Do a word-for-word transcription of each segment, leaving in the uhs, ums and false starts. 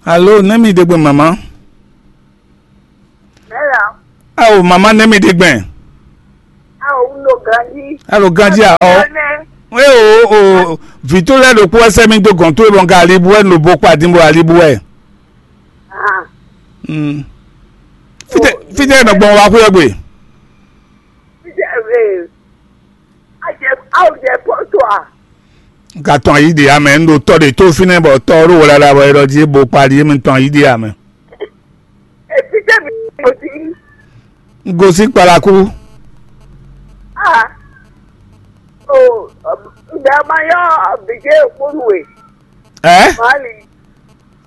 Alo, nɛ́ mi ɖe gbe mama? Mɛla. Ao, mama, nɛ́ mi ɖe gbe? Ao, un ɖo ganjí. Alo, ganjí a? Ɔ. Nɛ. E o o, vǐ towe lɛ́ɛ ɖokpó wɛ sɛ́ mì dó gɔ̌n towe bɔ un ka alibu wɛ, un ɖo bo kpa din bɔ alibu wɛ. Ah. Mm. Fítɛ́ fítɛ́ nɔ gbɔn wá xwé ɔ́ gbe? Fítɛ́ e, a jɛ aw jɛ pɔ́ to a? Un ka tɔn ayǐ ɖě ǎ mɛ, un ɖo tɔ ɖě tó fínɛ́ bɔ tɔ ɔ́ ɖo wlala bɔ é ɖɔ jí é bo kpa ɖi é mi tɔn ayǐ ɖě ǎ mɛ. Ètítẹ́ mi kò sí. Un gosín kpalaku. Ah. O, ǹda ma yɔ bìjẹ́ kpónú e. Ɛ? Mali.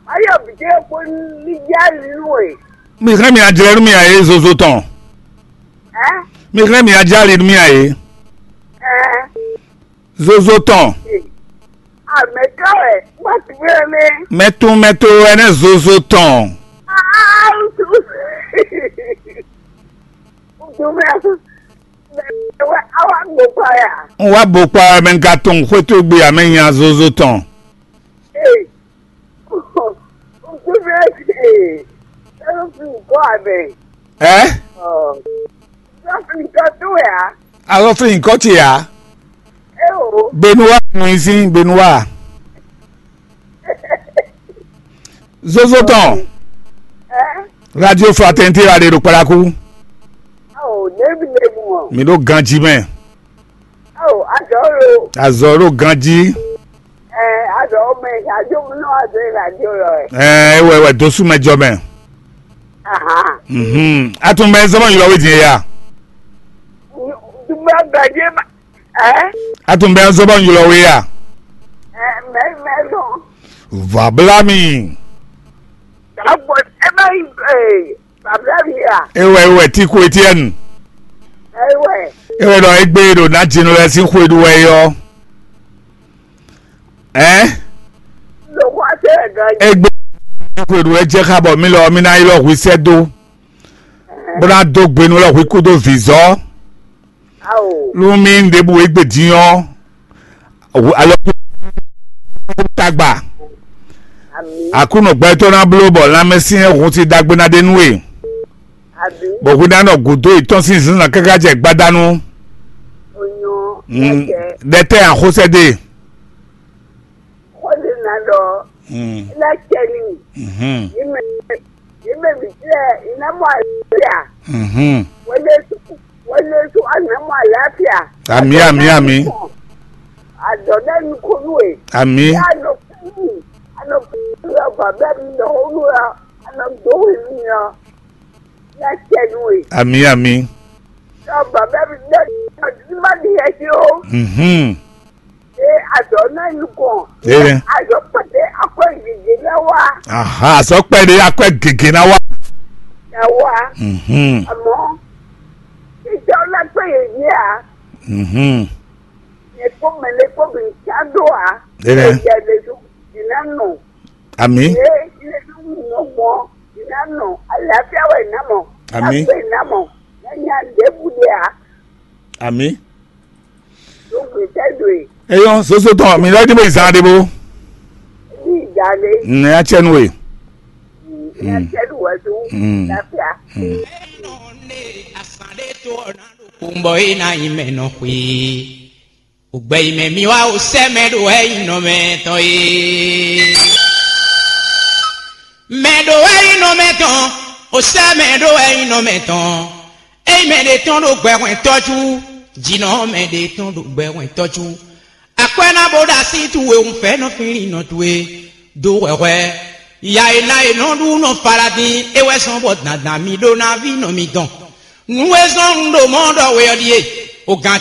Ma yɔ bìjẹ́ kpónú ní yá nínú e. Mi hɛn mi ajlɛ nú mi a ye zozo tɔn. Ɛ? Mi hɛn mi ajali nú mi a ye. Ɛ? Zozo tɔn. Amɛtɔ ɛ, ma tu wɛ mɛ. Mɛtun mɛtun ɛnɛ zozo tɔn. Ah, tu. Tu mɛ. Mɛ wɛ awa gbɔ pa ya. Un wá bo kpa mɛ un ka tunwun xwé towe gbe ǎ mɛ nya zozo tɔn. Ee. Ŋutsu fɛ́ se. Ɛlɔ́ fi ŋkɔ abɛ. Ɛ? Ɛlɔ́ fi ŋkɔ towe a? Alɔ fi ŋkɔ ce ǎ. Eo. Benua nɔ nyi sín Benua. Zozo tɔn. Ɛ? Radio Fraternité la ɖe ɖo kpalaku. Ao, ɖevi ɖe mu ɔ. Mi ɖo ganji mɛ. Ao, azɔ lo. Azɔ ɖo ganji. Ɛ, azɔ mɛ, ajo mu nɔ azɔ e radio lɔ ɛ. Ɛ, ewɛ wɛ dosu mɛ jɔ mɛ. Ahan. Mhm. Atun bɛ zɔmɔ ylɔ we din ya. Dumɛ gbɛdze ma. Ɛ? Atun bɛ zɔmɔ ylɔ we ya. Ɛ, mɛ mɛ lɔ. Va bla mi. Agbɔ, ɛ bɛ yi, ee. Ablaham ya. Ewɛ ewɛ Tiku Etienne. Ewɛ. Ewɛ ɖɔ egbe ɖo ná dzinɔ lɛ sín xwe ɖu wɛ yɔ. Ɛ? Lɔxɔ ase ɛ gan yi. Egbe xwe ɖu wɛ jɛ xa bɔ mi lɔ mi ná yi lɔ hwi sɛ do. Bó ná dó gbe nú lɔ hwi kú dó vǐzɔ. Ao. Nú mì ɖěbǔ e gbe din ɔ́, alɔ tagba. Ami. Aklúnɔ gbɛtɔ́ ná bló bɔ lanmɛsyɛn hun si ɖagbe ná ɖe nú we. Ami. Bɔ hwi ná nɔ gǔdo yětɔn sín zǐnzán káká jɛ gbadanu. Onyo. Mm, ɛkɛ. Ɖɛtɛ axosɛde. Xó ɖé ná ɖɔ. Mm. Ná cɛ n'i. Mhm. Yě mɛ, yě mɛ bǐ lɛ́ɛ, yě ná mɔ alafia. Mhm. Wɛlɛsu, wɛlɛsu a nǎ mɔ alafia. Amǐ, amǐ, amǐ. Adɔ ɖe nukɔn nú we. Amǐ. Yá nɔ kú, a nɔ kú lɔ bàbá mi nɔ xó nú ɔ, a nɔ dó we mi ɔ. Yá cɛ nú we. Amǐ, amǐ. Lɔ bàbá mi nɔ ní ma ní yɛ sí o. Mhm. Ee, azɔ ná yi nukɔn. Ee. Azɔ kpɛtɛ akwɛ gege ná wá. Aha, azɔ kpɛtɛ akwɛ gege ná wá. Ná wá. Mhm. Àmọ́, ìjọ ná pé yé yé a. Mhm. Yẹ kó mɛlɛ kó bi ká dó a. Ee. Yẹ lè dó, yìí ná nù. Ami. Yé, yé lè dó nù mọ́, yìí ná nù. Àlàáfíà wẹ̀ ná mọ̀. Ami. Àgbẹ̀ ná mọ̀. Yẹn ní a lè bu de a. Ami. Eyɔn soso tɔn mi lɔ di bo zan de bo. Nɛ ya cɛ nu we. Mm. Kumbɔ e na yi mɛ nɔ xwe. Ogbɛ yi mɛ mi wa o sɛ mɛ ɖo wɛ yi nɔ mɛ tɔn ye. Mɛ ɖo wɛ yi nɔ mɛ tɔn, o sɛ mɛ ɖo wɛ yi nɔ mɛ tɔn. Eyi mɛ ɖe tɔn ɖo gbɛ hwɛn tɔjú, jǐnɔ mɛ ɖe tɔn ɖo gbɛ hwɛn tɔjú. Akwɛ́ ná bó ɖo así towe wunfɛ́nɔ fínlínnɔ towe dó hwɛhwɛ. Ya e ná e nɔ ɖu nɔ Faladin é wɛ sɔn bɔ dandan mi ɖó ná ví nɔ mitɔn. Nǔ e zɔ́n un ɖo mɔ̌ ɖɔ we ɔ́ ɖíe: o gǎn